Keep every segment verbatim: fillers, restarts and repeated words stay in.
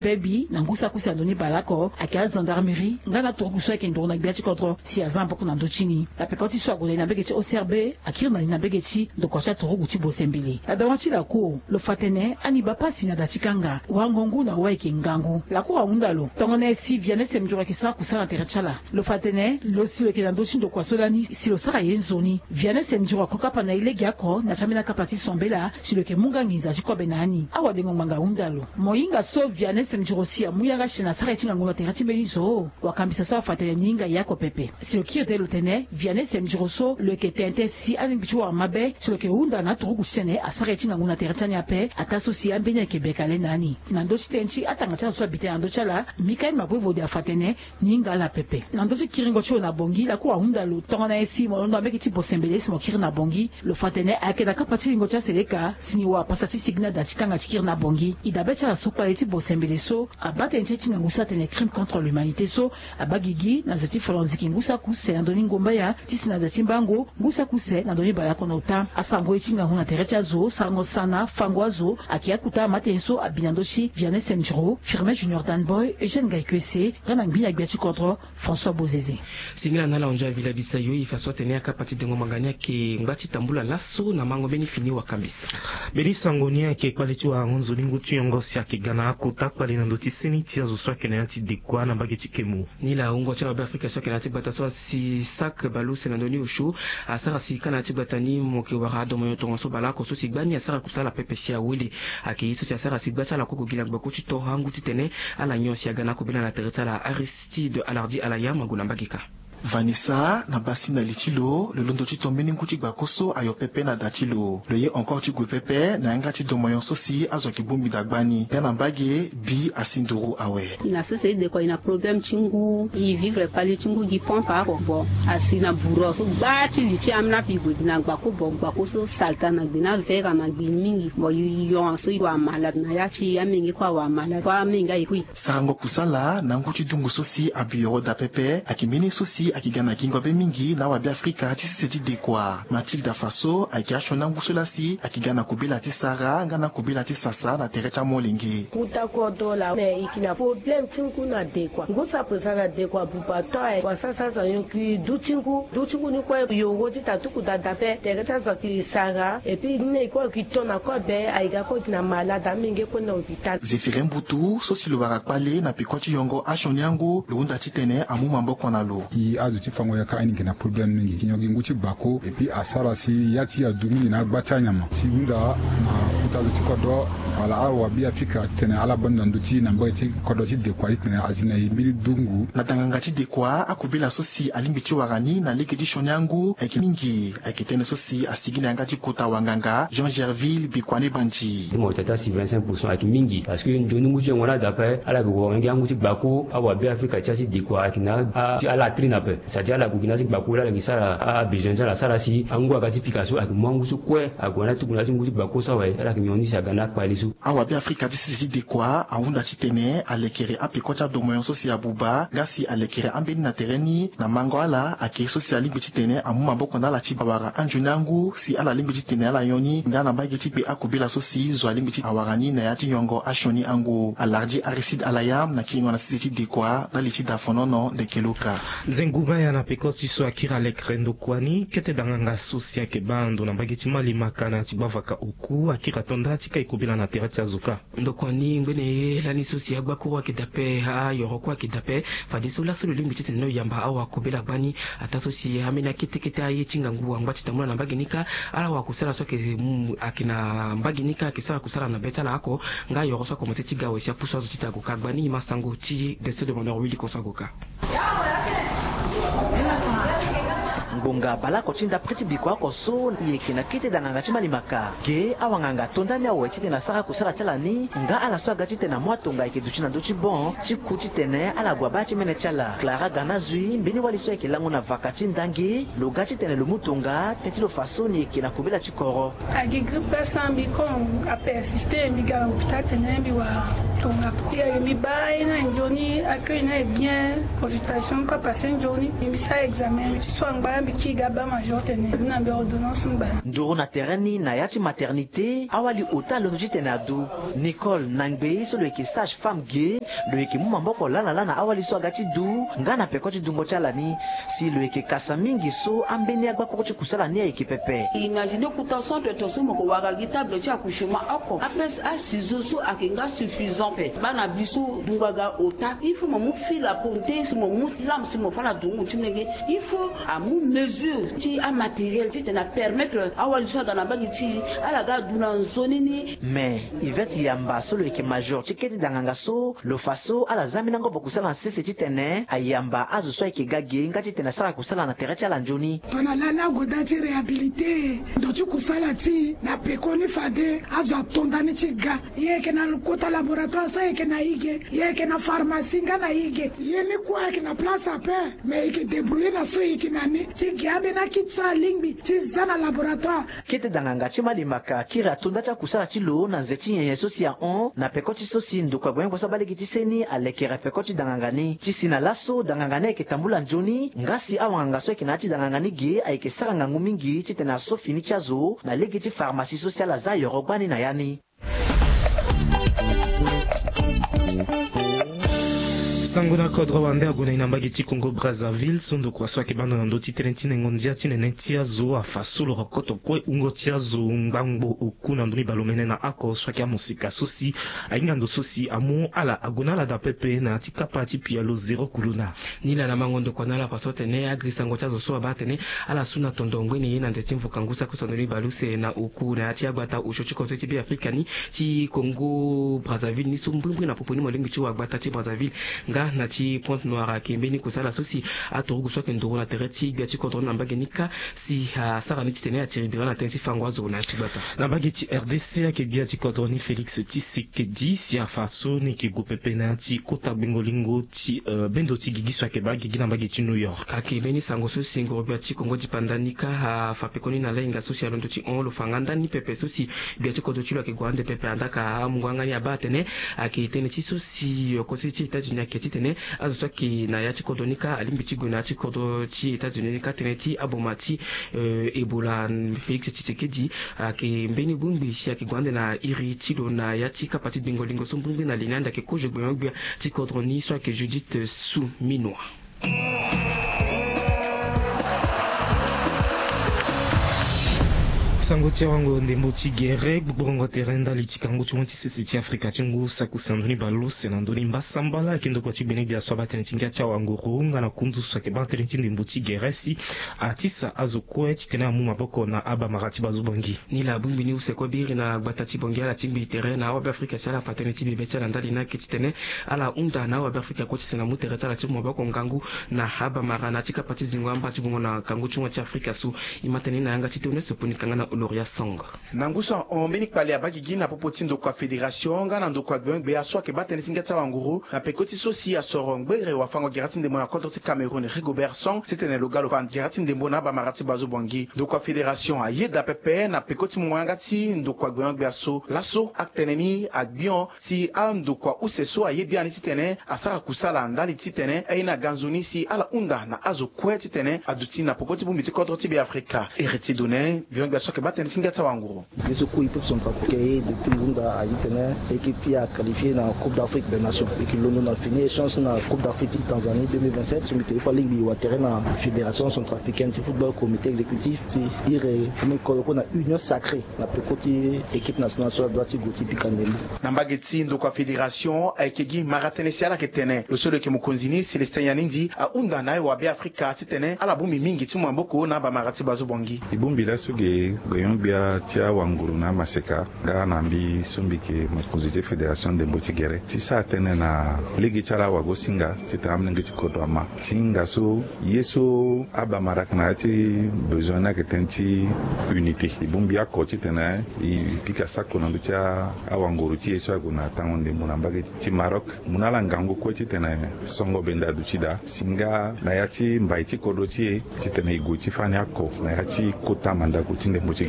Pebi na ngu saki use na ndoni baleoko ayeke agendarmerie nga na aturugu so ayeke nduru na gbia ti kodro si aza maboko na ndö ti ni. Na peko ti so ague na ni na mbege ti O C R B, akiri na ni na mbege ti ndokua ti aturugu ti Bosembele. Na dawa ti laku, lo fa tene ani baa pasi na da ti kanga, wango ngu na wâ ayeke ngangu. Laku ahunda lo tongana nyen si Vianney Semdjoro ayeke sara kusala na tere ti ala. Lo fa tene lo si lo yeke na ndö ti ndokua so lani si lo sara ye nzoni. Vianney Semdjoro ako kapa na e legeoko na ti ambeni akapa ti Sombela si lo yeke mu nga nginza ti kobe na ni. Awadengo ngbanga ahunda lo. Mo hinga so Vianney Semdjoro si amu yanga si tene asara ye ti ngangu na tere ti mbeni zo. Wakambisa so afa tene ni hinga ye oko pepe. Si lo kiri tënë lo tene Vianney Semdjoro so lo yeke tene tënë si alingbi ti wara mabe si lo yeke hunda na aturugu titene asara ye ti ngangu na tere ti ani ape, ataa so si ambeni ayeke beka le na ni. Na ndö ti tënë ti atanga ti ala so abi tënë na ndö ti ala, Michael Mabwe Vodi afa tene ni hinga ala pepe. Na ndö ti kiringo ti lo na Bangui, laku ahunda lo tongana nyen si mo londo na mbege ti Bosembele si mo kiri na Bangui. Lo fa tene ayeke na kapa ti lingo ti aseleka si ni wara pasa ti sigi na da ti kanga ti kiri na Bangui. E dabe ti ala so kpale ti Bosembele so abaa tënë ti ye ti ngangu so atene crime contre l'humanité so abaa gigi na ze ti folonziki ngu saki use na ndö ni ngombaya ti si na ze ti mbango ngu saki use na ndö ni baleoko na ota. Asango ye ti ngangu na tere ti azo, sarango sana, fango azo, ayeke akota amatene so abi na ndö ti Vianney Semdjoro, Firmin Junior Danboy, Eugène Ngaïkuese, nga na ngbi na gbia ti kodro, François Bozeze. Singila na ala, onzo avila bisayo, e fa so atene akapa ti dengo ngbanga ni ayeke ngba ti tambula laso na mango mbeni fini wakambisa. Mbeni sango ni ayeke kpale ti warango nzoni ngu ti yongo si ayeke ga na akota kpale na ndö ti seni ti azo so ayeke na ya ti dekua na mbage ti Kemu. Ni laa wungo ti awabe Afrika so ayeke na ya ti gbata so asi sac baleuse na ndö ni osio, asara si ka na ya ti gbata ni mo yeke wara adomonyo tongaso baleoko so si gbani asara kusala pepe si awele. Ayeke ye so si asara si gba ti ala kue gue gi na gbako ti to angu titene ala nyon si aga na akobela na tere ti ala. Aristide Alardi Alayam ague na mbage ka. Vanessa, na basi na li ti lo, lo londo ti to mbeni ngu ti gbako so ayo pepe na da ti lo. Lo ye encore ti gue pepe na yanga ti domonyo so si azo ayeke bongbi daa gbani nga na mbage bi asi nduru awe. E na sese e dekua, e na problème ti ngu, e vivre kpali ti ngu gi pompe oko. Bon, asi na bourreau so gba ti li ti ambeni ape e gue gi na gbako, bon, gbako so salta na gbe na vera na gbe mingi. Bon, e yo so e wara malade na ya ti e, amenge kue awara malade, kue amenge aye kue. Sarango kusala na ngu ti dungu so si abi yoro daa pepe ayeke mbeni so si ayeke ga na gingo be mingi na awabe Afrika ti sese ti dekua. Mathilda Faso ayeke asioni angu so laa si ayeke ga na kobela ti sara nga na kobela ti sasa na tere ti amolenge. Kuta kodro laa, me e yeke na problème ti ngu na dekua. Ngu so ape sara na dekua buba to aye, wala sara sara zo ayonki du ti ngu. Du ti ngu ni kue yoro ti ta tuku daa daa ape. Tere ti azo ayeke sara, et puis ni na e kue ayeke to na kobe, aye ga kue e yeke na malade, amenge kue na hôpital. Zéphiré Mbutu so si lo wara kpale na peko ti yongo asioni angu, lo hunda titene amu maboko na lo. E azo ti fango yaka aye ni yeke na problème mingi. E yeke nyon gi ngu ti gbako, et puis asara si ya ti e adu mingi na agba ti anyama. Si e hunda na kota zo ti kodro wala awabe Afrika titene ala bando na ndö ti e na mbage ti kodro ti dekua titene azi na e mbeni dungu. Na danganga ti dekua, akobela so si alingbi ti wara ni na lege ti sioni angu ayeke mingi. Ayeke tënë so si asigi na yanga ti kota wanganga Jean Gerville Bikuane Bandi. Ti mo tata si vingt-cinq pour cent ayeke mingi, parce que nzoni ngu ti yongo ni daa ape, ala yeke wara ngia ngu ti gbako, awabe Afrika ti ya ti dekua ayeke na a, ti ala latrine ape. C'est-à-dire ala gue gi na ya ti gbako laa ala yeke sara a, abesoin ti ala, asara si angu aga ti pika so, ayeke mu angu so kue ague na atuku na ya ti ngu ti gbako so awe, ala yeke nyon ni si aga na akpale so. Awabe Afrika ti sese ti dekua ahunda titene alekere apeko ti adomonyo so si abuba, nga si alekere ambeni na tere ni na mango ala, ayeke ye so si alingbi titene amu maboko na ala ti awara anzoni angu si ala lingbi titene ala nyon ni nga na mbage ti gbe akobela so si zo alingbi ti awara ni na ya ti yongo asioni angu. Alardi Aristide Alayam na kiringo na sese ti dekua ndali ti dafonono Ndekeloka. Zengu baya na peko ti so akiri alekere ndokua ni, kete danganga so si ayeke baa ndo na mbage ti Malemaka na ya ti gbavaka oku akiri ato nda ti kai kobela na tere ti azo ka. Ndokua ni ngbene ye lani so si agbakuru ayeke dape, ayoro kue ayeke dape. Fadeso laso lo lingbi titene lo yamba awakobela gbani. Ataa so si ambeni akete kete aye ti ngangu angba ti tambula na mbage ni kâ. Ala wakusala so ayeke, mm, ayeke na mbage ni kâ ayeke sara kusala na be ti ala oko. Nga ayoro so akomanse ti ga awe si apusu azo titene ague ka gbani. Masango ti Destin Demandeur Willy Koso ague ka. Ngbonga baleoko ti ndapre ti bikua oko so e yeke na kete danganga ti Malemaka. Ge awanganga to ndani awe titene asara kusala ti ala ni, nga ala so aga titene amu atonga ayeke duti na ndö ti bon ti ku titene ala gue abaa ti mene ti ala. Clara Ganazui, mbeni wali so ayeke lango na vaka ti ndangi, lo ga titene lo mu tonga teti lo fa so ni yeke na kobela ti koro. Agi grippe asan mbi, comme a persiste, mbi ga na hôpital tene mbi wara tonga. Mbi agi mbi baa aye ni nzoni, accueil ni est bien, consultation pas passé nzoni, mbi sara examen, mbi ti so angba. Mbi kiri ga baa major tene mbi na mbi ordonnance ngba. Nduru na tere ni na ya ti maternité awali ota alondo titene adu. Nicole na ngbei so lo yeke sage femme ge, lo yeke mu maboko lala laa na awali so aga ti du nga na peko ti dungo ti ala ni. Si lo yeke kasa mingi so ambeni agbakuru ti kusala ni ayeke pepe. Imagine kota centre to so mo ko wara gi table ti accouchement oko, apes asizo so ayeke nga suffisant pe baa na bi so dungo aga ota. Il faut mo mu fil à ponter, si mo mu lame, si mo fa na dungu ti molenge. Il faut amu mesure ti amatériel titene apermettre awali so aga na mbage ti ala ga adu na nzoni ni. Mais Yvette Yamba so lo yeke major ti kete danganga so lo fa so ala za mbeni angobo kusala na sese titene ayamba azo so ayeke ga ge nga titene asara kusala na tere ti ala nzoni. Tongana lani agoda ti réhabilité ndo ti kusala ti na pekoni fade azo atonda ni ti ga. Ye yeke na kota laboratoire so ayeke na ige, ye yeke na pharmacie nga na ige. Ye ni kue ayeke na place ape, mais e yeke débrouiller na so e yeke na ni ti ge ambeni akiti so alingbi ti za na laboratoire. Kete danganga ti malimaka kiri atonda ti akusala ti lo na nze ti nyenye so si ahon na peko ti so si ndokua gbenyo-gbia so abaa lege ti seni alekere peko ti danganga ni. Ti si na laso danganga ni ayeke tambula nzoni nga si awanganga so ayeke na ya ti danganga ni ge ayeke sara ngangu mingi titene aso fini ti azo na lege ti pharmacie so si ala za yoro gbani na ya ni. Sango na kodro wande ague na e na mbage ti Congo Brazzaville so ndokua so ayeke baa ndo na ndö ti tënë ti nengo ndia ti nene ti azo afa so lo rokoto kue wungo ti azo ngbangbo oku na ndoni baleomene na oko so ayeke amosika so si ahinga ndo so si amu ala ague na ala daa pepe na ya ti kapa ti pialo zéro kuluna. Ni laa na mango ndokua na ala afa so atene agiri sango ti azo so abaa atene ala su na tondo ngbene ye na nze ti mvuka ngu saki so andoni baleuse na oku na ya ti agbata osio ti kodro ti Beafrika ni ti Congo Brazzaville ni so mbrimbri na popo ni mo lingbi ti wa agbata ti Brazzaville nga na ti Pointe-Noire ayeke mbeni kusala so si aturugu so ayeke nduru na tere ti gbia ti kodro ni na mbage ni kâ si asara ni titene atiri bira na tënë ti fango azo na ya ti gbata. Na mbage ti R D C ayeke gbia ti kodro ni Félix Tshisekedi si afa so ni yeke gue pepe na ya ti kota gbengo lingo ti, eh, bendo ti gigi so ayeke baa gigi na mbage ti New York. Ayeke mbeni sango so si nguru gbia ti Congo dipanda ni kâ afa pekoni na lahinga so si alondo ti hon lo fa nga ndani pepe so si gbia ti kodro ti lo ayeke gue ande pepe andaa ka amungo yanga ni abaa atene ayeke tënë ti so si, eh, konse ti États-Unis ayeke titene azo so ayeke na ya ti kodro ni kâ alingbi ti gue na ya ti kodro ti États-Unis ni kâ tënë ti aboma ti, eh, Ebola. Félix Tshisekedi ayeke mbeni bongbi si ayeke gue ande na iri ti lo na ya ti kapa ti gbengo lingo so mbrimbri na li ni ande ayeke kozo gbenyo-gbia ti kodro ni so ayeke Judith Suminwa. Sango ti awango ndembo ti gere gbogborongo tere ndali ti kangu ti mo ti sese ti Afrika ti ngu saki use na ndoni baleuse na ndoni mbasambala ayeke ndokua ti gbene-gbia so abaa tënë ti ngia ti awanguru nga na kundu so ayeke baa tënë ti ndembo ti gere si atisa azo kue titene amu maboko na abamara ti bazo Bangui. Ni laa bongbi ni use kue biri na gbata ti Bangui ala tingbi tere na awabe Afrika si ala fa tënë ti bebe ti ala ndali ni ayeke titene ala hunda na awabe Afrika kue titene amu tere ti ala ti mu maboko ngangu na abamara na ya ti kapa ti zingo amba ti gungo na kangu ti mo ti Afrika so. E ma tënë ni na yanga ti Théoneste Ponika nga na Oloria Song. Na ngu so ahon mbeni kpale abaa gigi na popo ti ndokua fédération nga na ndokua gbenyo-gbia so ayeke baa tënë ti ngia ti awanguru na peko ti so si asoro ngbere wafango gere ti ndembo na kodro ti Cameroun Rigobert Song titene lo ga lo fa gere ti ndembo na abamara ti bazo Bangui. Ndokua fédération ayeda pepe na peko ti mungo yanga ti ndokua gbenyo-gbia so laso atene ni agbion si andokua use so aye biani titene asara kusala ndali titene aye ni aga nzoni si ala hunda na azo kue titene aduti na poko ti bongbi ti kodro ti Beafrika. Héritier Donin, gbenyo-gbia so ayeke baa tënë ti ngia ti awanguru. Ye so kue équipe centrafricaine ye depuis hunda aye titene équipe ti e aqualifié na Coupe d'Afrique des Nations. E yeke londo na fini échange na Coupe d'Afrique ti Tanzanie deux mille vingt-sept so mbi yeke ye fo alingbi e wa tere na Fédération centrafricaine ti football, comité exécutif ti iri, mbi kodro kue na union sacrée na peko ti équipe nationale so adua ti gue ti pika ndembo. Na mbage ti ndokua fédération ayeke gi mara tënë si ala yeke tene lo so lo yeke mokonzi ni Célestin Yandi ahunda na aye wa Beafrika titene ala bongbi mingi ti mu maboko na abamara ti bazo Bangui. E bongbi laso ge gbenyo-gbia ti awanguru na amaseka nga na mbi so mbi yeke mokonzi ti fédération ndembo ti gere ti sara tënë na lege ti ala awagosinga titene amolenge ti kodro ama ti hinga so ye so abamara ayeke na ya ti besoin ni ayeke tënë ti unité. E bongbi oko titene e pika sako na ndö ti a- awanguru ti e so ague na tango ndembo na mbage ti Maroc. Mu na ala ngangu kue titene songo benda aduti daa si nga na ya ti mbai ti kodro ti e titene e gue ti fani oko na ya ti kota mandako ti ndembo ti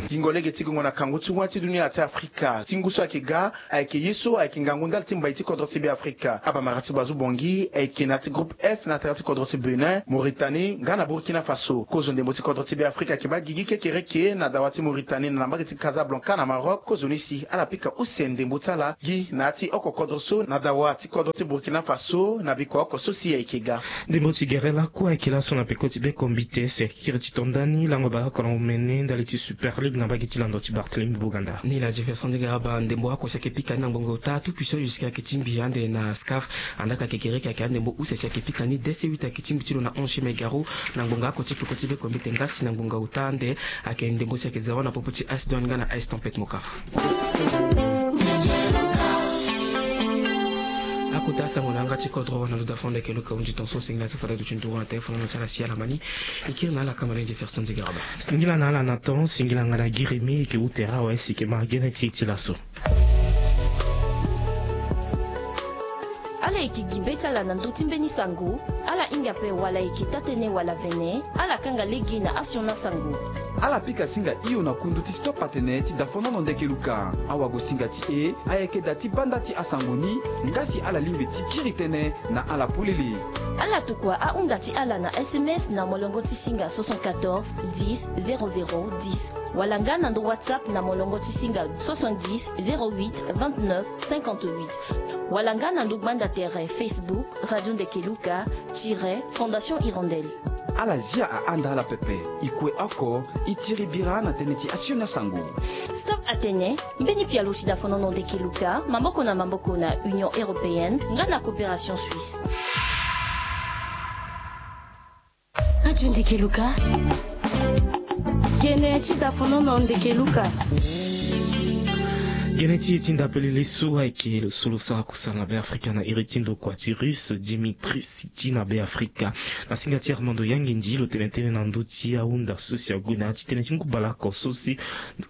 Gingo lege ti gongo na kangu ti wâ ti dunia ti Afrika ti ngu so ayeke ga, ayeke ye so ayeke ngangu ndali ti mbai ti kodro ti Beafrika. Abamara ti Bazu Bongi ayeke na ya ti groupe F na tere ti kodro ti Bénin, Mauritanie nga na Burkina Faso. Kozo ndembo ti kodro ti Beafrika ayeke baa gigi kekereke na dawa ti Mauritanie na na mbage ti Casablanca na Maroc. Kozoni si ala pika use ndembo ti ala gi na ya ti oko kodro so na dawa ti kodro ti Burkina Faso na bikua oko so si ayeke ga. Ndembo ti gere lakue ayeke laso na peko ti bekombite si ayeke kiri ti to ndani lango bale oko na omene ndali ti Super League na mbage ti lando ti Barthélemy Boganda. Ni la Jefferson Digaraba, ndembo oko si ayeke pika ni na ngbonga ota Tout Puissant Jusqu'à ayeke ti mbi ande na SCAF. Andaa ka kekereke ayeke andembo use si ayeke pika ni D C huit ayeke ti mbi ti lo na onze mai Garou na ngbonga oko ti peko ti bekombite nga si na ngbonga ota ande ayeke ndembo si ayeke zero na popo ti AS Douanes nga na AS Tempête Mocaf. Akota asango na yanga ti kodro na lo Dafon Ndeke Luka. Hunzi tonso singila so fade duti nduru na telefone na ti ala si ala ma ni. E kiri na ala kama lenge Jefferson Digaraba. Singila na ala na ton, singila nga na giremi e yeke ute rawa si e yeke ma gene ti e ti laso. Ala yeke gi be ti ala na ndö ti mbeni sango. Ala hinga ape wala e yeke taa-tënë wala vene, ala kanga lege na asioni asango. Ala pika singa hio na kundu ti stop atene ti Dafonono Ndeke Luka. Awagosinga ti e ayeke da ti banda ti asango ni, nga si ala lingbi ti kiri tënë na ala polele. Ala tokua ahunda ti ala na S M S na molongo ti singa soixante-quatorze dix zéro zéro dix, wala nga na ndö WhatsApp na molongo ti singa soixante-dix zéro huit vingt-neuf cinquante-huit, wala nga na ndö gbanda tere Facebook Radio Ndeke Luka tiret Fondation Hirondelle. Ala zia ahanda ala pepe. E kue oko, e tiri bira na tënë ti asioni asango. Stop atene, mbeni pialo ti Dafonono Ndeke Luka, maboko na maboko na Union Européenne nga na Coopération Suisse. Radio Ndeke Luka. Gene ti Dafonono Ndeke Luka. Gene ti e ti ndapelele so ayeke lo so lo sara kusala na Beafrika na iri ti ndokua ti Russe, Dimitri Siti na Beafrika. Na singa ti Armando Yangindi lo tene tënë na ndö ti ahunda so si ague na ya ti tënë ti ngu baleoko so si,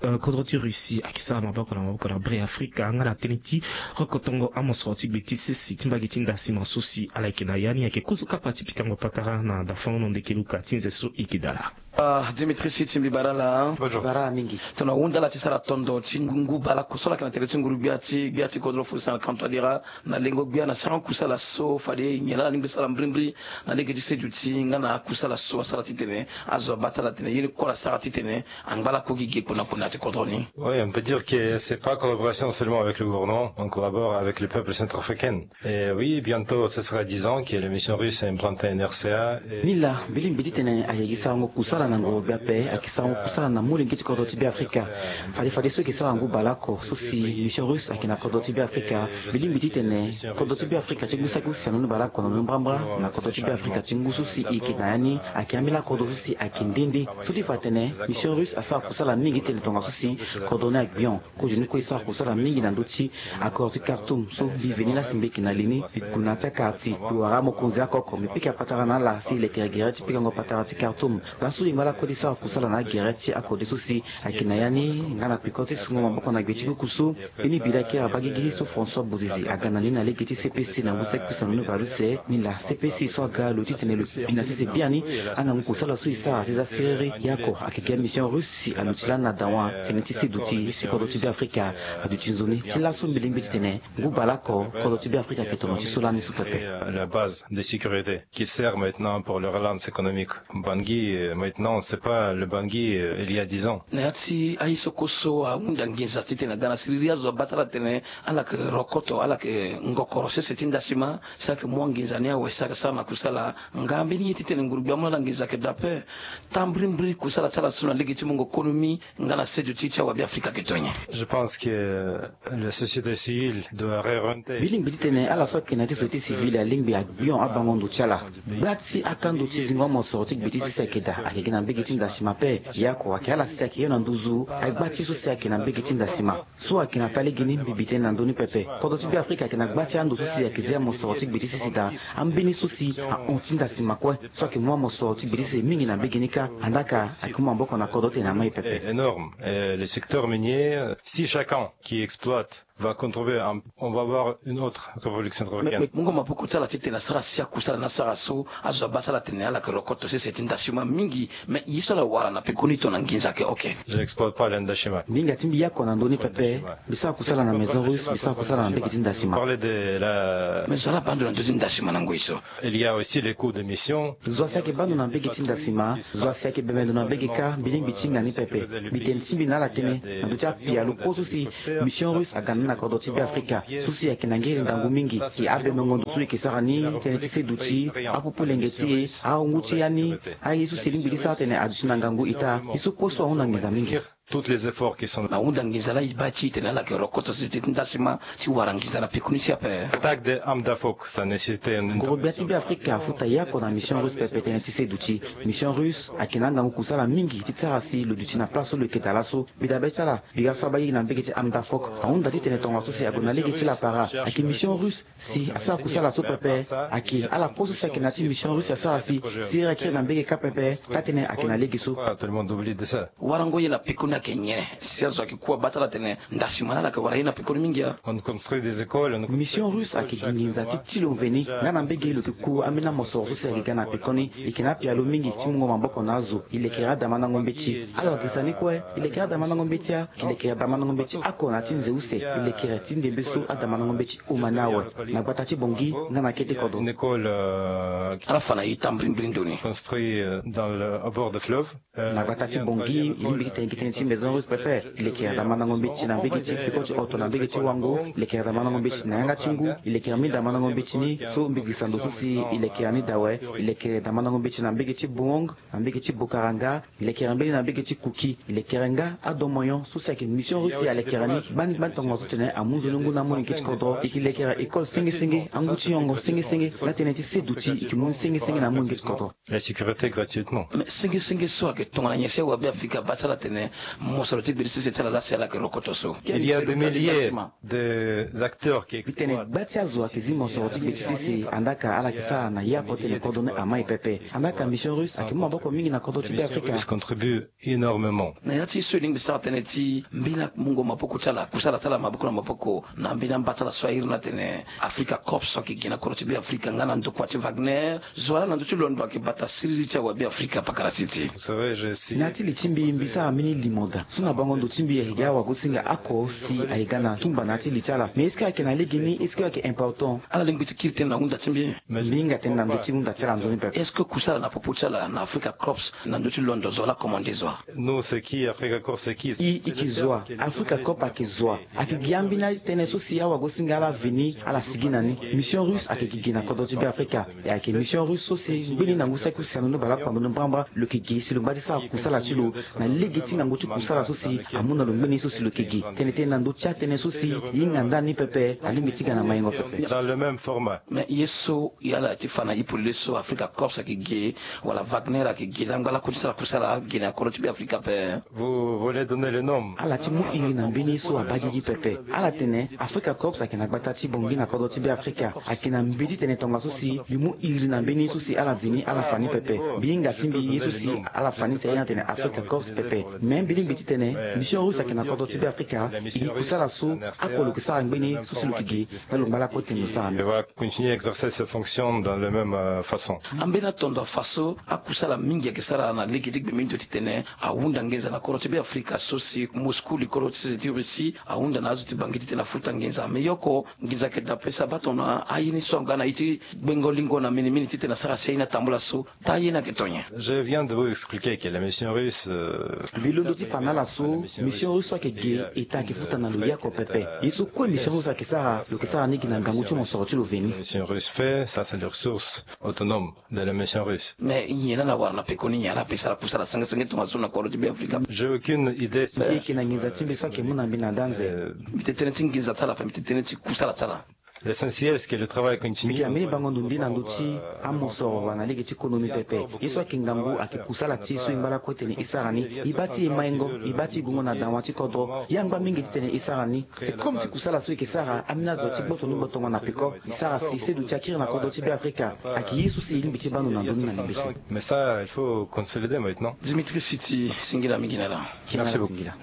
eh, kodro ti Russie ayeke sara maboko na maboko na Beafrika nga na tënë ti rokotongo amosoro ti gbe ti sese ti mbage ti ndasima so si ala yeke na ya ni. Ayeke kozo kapa ti pikango patara na Dafonono Ndeke Luka ti nze so e yeke dala. Ah, Dimitri Siti, mbi bara ala. Bonjour. Bara ala mingi. Tongana ahunda ala ti sara tondo ti ngu, ngu baleoko so ala yeke na tere ti nguru gbia ti, gbia ti kodro Faustin Archange Touadéra, na lengo gbia na sarango kusala so fade nyen laa ala lingbi sara mbirimbiri na lege ti seduti nga na akusala so asara titene azo abaa ti ala tene ye ni kue ala sara titene angba lakue gi ge kpo na kpo na ya ti kodro ni. Oui, on peut dire que c'est pas collaboration seulement avec le gouvernement, on collabore avec le peuple centrafricain. Et oui, bientôt, ce sera dix ans que la mission russe a implanté un R C A. Ni laa, mbi lingbi titene ayeke sarango kusala na ngoro gbia ape, ayeke sarango kusala na molenge ti kodro ti Beafrika. Fade fadeso e yeke sara ngu baleoko so si mission russe ayeke na kodro ti Beafrika. Mbi lingbi titene kodro ti Beafrika ti ngu saki use na ni baleoko na ni mbrambra na kodro ti Beafrika ti ngu so si e yeke na ya ni. Ayeke ambeni akodro so si ayeke nde nde. So ti fa atene mission russe asara kusala mingi titene tongaso si kodro ni agbion. Kozoni kue e sara kusala mingi na ndö ti accord ti Khartoum so mbi veni lasi mbi yeke na li ni. Mbi gue na ya ti akara ti mbi wara amokonzi oko oko, mbi pika patara na ala si e lekere gere ti pikango patara ti Khartoum. Laso e ngba lakue ti sara kusala na agere ti akode so si ayeke na ya ni nga na peko ti sungo maboko na gbe ti kuku so. Mbeni bira kiri abaa gigi so François Bozizé aga na ni na lege ti C P C na ngu saki use na ni baleuse. Ni laa C P C so aga lo titene lo bi na sese biani angangu kusala so e sara ti za siriri. Ye oko ayeke gi amission russe si aluti lani na dawa tënë ti seduti si kodro ti Beafrika aduti nzoni. Ti laso mbi lingbi titene ngu baleoko kodro ti Beafrika ayeke tono ti so lani so pepe. La base de sécurité qui sert maintenant pour le relance économique. Bangui, euh, maintenant, c'est pas le Bangui, euh, il y a dix ans. Na ya ti aye so kue so ahunda nginza titene aga na siriri azo abaa ti ala tene ala yeke rokoto, ala yeke ngokoro sese ti ndasima, si ayeke mu anginza ni awe si ayeke sara na kusala. Nga mbeni ye titene nguru gbia amu na ala nginza ayeke daa ape. Taa mbirimbiri kusala ti ala so na lege ti mungo konomi nga na seduti ti awabe Afrika ayeke to nyen? Je pense que la société civile doit réorienter. Mbi lingbi titene ala so ayeke na ya ti société civile alingbi agbion abango ndo ti ala. Gba ti akando ti zingo amosoro ti gbe ti sese ayeke daa, ayeke gi na mbage ti ndasima ape. Ye oko ayeke ala si ayeke hio na nduzu agba ti ye so si ayeke na mbage ti ndasima. So ayeke na taa legeni mbi bi tënë na ndö ni pepe. Kodro ti Beafrika ayeke na gba ti ando so si ayeke zi amosoro ti gbe ti sese daa. Ambeni so si ahon ti ndasima kue so ayeke mu amosoro ti gbe ti sese mingi na mbage ni kâ. Andaa ka ayeke mu maboko na kodro titene amai pepe. Énorme. Euh, le secteur minier, si chacun qui exploite va contribuer à, on va avoir une autre révolution centrafricaine. Me, me, mungo maboko ti ala titene asara si akusala ni asara so azo abaa ti ala atene ala yeke rokoto sese ti ndasima mingi. Me ye so ala wara na pekoni tongana nginza ayeke oke. Je n'exploite pas le ndasima. Mbi hinga ti mbi ye oko na ndö ni pepe. Mbi sara kusala na Maison Russe, mbi sara kusala na mbage ti ndasima. Parler de la... Me zo ala baa ndo na ndö ti ndasima na ngoi so. Il y a aussi les coûts de mission. Zo asi ayeke baa ndo na mbage ti ndasima, zo asi ayeke bembe ndo na mbage kâ, mbi lingbi ti hinga ni pepe. Mbi tene ti mbi na ala tënë na ndö ti apialo kue so si Mission Russe aga na ni na kodro ti Beafrika so si ayeke na ngiri ngangu mingi. Si abembengo ndo so e yeke sara ni tënë ti seduti, apupulenge ti e, ahungu ti ya ni, aye so si e lingbi ti sara atene aduti na ngangu ita, ye so kue so ahunda nginza mingi. Tous les efforts qui sont... Ahunda nginza laa e baa ti e tene ala yeke rokoto sese ti ndasima ti wara nginza na pekoni si ape. Attaque des armes d'Afok, ça nécessite un... Ngoro gbia ti Beafrika afuta ye oko na Mission Russe pepe tënë ti seduti. Mission Russe ayeke na angangu kusala mingi ti sara si lo duti na place so lo yeke daa laso. Mbi dabe ti ala, bira so abaa ye na mbage ti arme d'Afok ahunda titene tongaso si ague na lege ti lapara. Ayeke Mission Russe si asara kusala so pepe. Ayeke ala kue so si ayeke na ya ti Mission Russe asara si, si e yeke kiri na mbage kâ pepe, taa-tënë ayeke na lege so. Tout le monde oublie de ça. Warango ye na pekoni ayeke nyen? Si azo ayeke ku abaa ti ala atene ndasima ni ala yeke wara ye na pekoni mingi a. On construit des écoles, on... Mission Russe ayeke gi nginza ti ti lo mveni. Nga na mbage lo yeke ku ambeni amosoro so si ayeke ga na pekoni. E yeke na apialo mingi ti mungo maboko na azo. E lekere adamandango mbeti. Ala yeke sara ni kue. E lekere adamandango mbeti a. E lekere adamandango mbeti oko na ya ti nze use. E lekere ti ndembe so adamandango mbeti huma ni awe na gbata ti Bangui nga na kete kodro. Une école, euh, ala fa na ita mbirimbiri ndo ni. Construit, euh, dans le, au bord de fleuve. Na gbata ti Bangui, e lingbi ti tene gi tënë ti Maison Russe pepe. E lekere adamandango mbeti na mbage ti peko ti hoto na mbage ti Wango. E lekere adamandango mbeti na yanga ti ngu. E lekere ambeni adamandango mbeti ni so mbi girisa ndo so si e lekere ni daa awe. E lekere adamandango mbeti na mbage ti Bohong, na mbage ti Bokaranga. E lekere mbeni na mbage ti Kuki. E lekere nga adomoyon so si ayeke Mission Russe alekere ni. Bani, bani tongaso titene amu nzoni ngu na amolenge ti kodro. E yeke lekere école senge senge, angu ti nyongo senge senge, nga tënë ti seduti e yeke mu ni senge senge na amolenge ti kodro. La sécurité gratuitement. Me senge senge so ayeke tongana nyen si awabe Afrika abaa ti ala atene mosoro ti gbe ti sese ti ala laa si ala yeke rokoto so? Il y a des milliers des acteurs qui... Mbi tene gba ti azo ayeke zi mosoro ti gbe ti sese, andaa ka ala yeke sara na ye oko tene kodro ni amai pepe. Andaa ka Mission Russe ayeke mu maboko mingi na kodro ti Beafrika. Contribue énormément. Na ya ti so e lingbi sara tënë ti mbeni amungo maboko ti ala, kusala ti ala maboko na maboko, na mbeni amba ti ala so a iri ni atene Africa Corps so ayeke gi na kodro ti Beafrika nga na ndokua ti Wagner. Zo wa laa na ndö ti londo ayeke bata siriri ti awabe Afrika pakara siti. Vous savez, je suis... Na ya ti li ti mbi, mbi sara mbeni limo daa so na bango ndo ti mbi ayeke gi awagosinga oko si ayeke ga na tumba na ya ti li ti ala. Mais est-ce que ayeke na legeni? Est-ce que ayeke important? Ala lingbi ti kiri tënë na hunda ti mbi. Mbi hinga tënë na ndö ti hunda ti ala nzoni pepe. Est-ce que kusala na popo ti ala na Africa Corps na ndö ti londo zo wa laa commande zo wa? Nous, c'est qui? Africa Corps, c'est qui? E, e yeke zo wa. Africa Corps ayeke zo wa. Ayeke gi ambeni atënë so si awagosinga ala veni ala sigi na ni. Mission Russe ayeke gi gi na kodro ti Beafrika. E ayeke Mission Russe so si ngbeni na ngu saki use alondo bale oko alondo mbrambra lo yeke gi si lo ngba ti sara kusala ti lo na lege ti ngangu ti kusala so si amu na lo ngbeni so si lo yeke gi. Tene tënë na ndö ti atënë so si e hinga ndani pepe alingbi ti ga na maingo pepe. Dans le même format. Mais ye so e ala ti fa na e polele so Africa Corps ayeke gi wala Wagner ayeke gi laa ngba lakue ti sara kusala gi na kodro ti Beafrika ape? Vous voulez donner le nom? Ala ti mu iri na mbeni ye so abaa gigi pepe. Ala tene Africa Corps ayeke na gbata ti Bangui na kodro ti Beafrika. Ayeke na mbi ti tene tongaso si mbi mu iri na mbeni ye so si ala veni ala fa ni pepe. Mbi hinga ti mbi ye so si ala fa ni si aye ni atene Africa Corps pepe. Mais mbi lingbi ti tene Mission Russe ayeke na kodro ti Beafrika. E gi kusala so oko lo yeke sara ngbeni so si lo yeke gi. Nga lo ngba lakue tene lo sara ni. Il va continuer à exercer ses fonctions dans le même, euh, façon. Ambeni atondo afa so akusala mingi ayeke sara na lege ti gbe mingi ti tene ahunda nginza na kodro ti Beafrika so si Moscou, likolo ti sese ti Russie, ahunda na azo ti Bangui ti tene afuta nginza. Mais ye oko nginza ayeke daa pe si abaa tongana aye ni so aga na ye ti gbengo lingo na minimini ti tene asara si aye ni atambula so. Taa ye ni ayeke to nyen? Je viens de vous expliquer que la mission russe, euh... Mbi londo ti fa na ala so mission russe so ayeke ge, État ayeke futa na lo ye oko pepe. Ye so kue mission russe ayeke sara, lo yeke sara ni gi na ngangu ti mosoro ti lo veni. Mission russe fait ça, c'est les ressources autonomes de la mission russe. Mais nyen laa na wara na pekoni, nyen laa ape sara kusala senge senge tongaso na kodro ti Beafrika? J'ai aucune idée. Mbi yeke na nginza ti mbi so ayeke mu na mbi na daa nze. Euh, mbi tene tënë ti nginza ti ala ape, mbi tene tënë ti kusala ti ala. L'essentiel, c'est que le travail continue. Mbi yeke na mbeni bango ndo nde na ndö ti amosoro wala na lege ti konomi pepe. Ye so ayeke ngangu ayeke kusala ti e so e ngba lakue tene e sara ni. E baa ti e maingo, e baa ti e gungo na dawa ti kodro. Ye angba mingi titene e sara ni. C'est comme si kusala so e yeke sara, ambeni azo ti gboto ni gbotongo na peko. E sara si seduti akiri na kodro ti Beafrika. Ayeke ye so si e lingbi ti baa ndo na ndö ni na lembe so. Mais ça, il faut consolider maintenant. Dimitri Siti, singila mingi na ala. Merci beaucoup. Singila.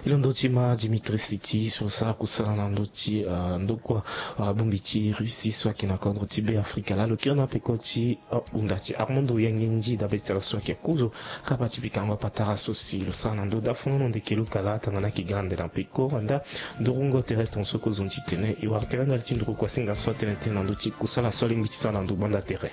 Ilo ndö ti ma Dimitri Siti so asara kusala na ndö ti, ah, ndokua, ah, bongbi ti Russie so ayeke na kodro ti Be Afrika laa lo kiri na peko ti, ah, hunda ti Armando Yangendi dabe ti ala so ayeke kozo kapa ti pikango apatara so si lo sara na ndö daa funu na ndeke luka laa tongana ayeke ga na ndele na peko andaa ndurungo tere tongaso kozoni titene e wara tere ndali ti nduru kuasinga so atene tënë na ndö ti kusala so alingbi ti sara na ndo gbanda tere.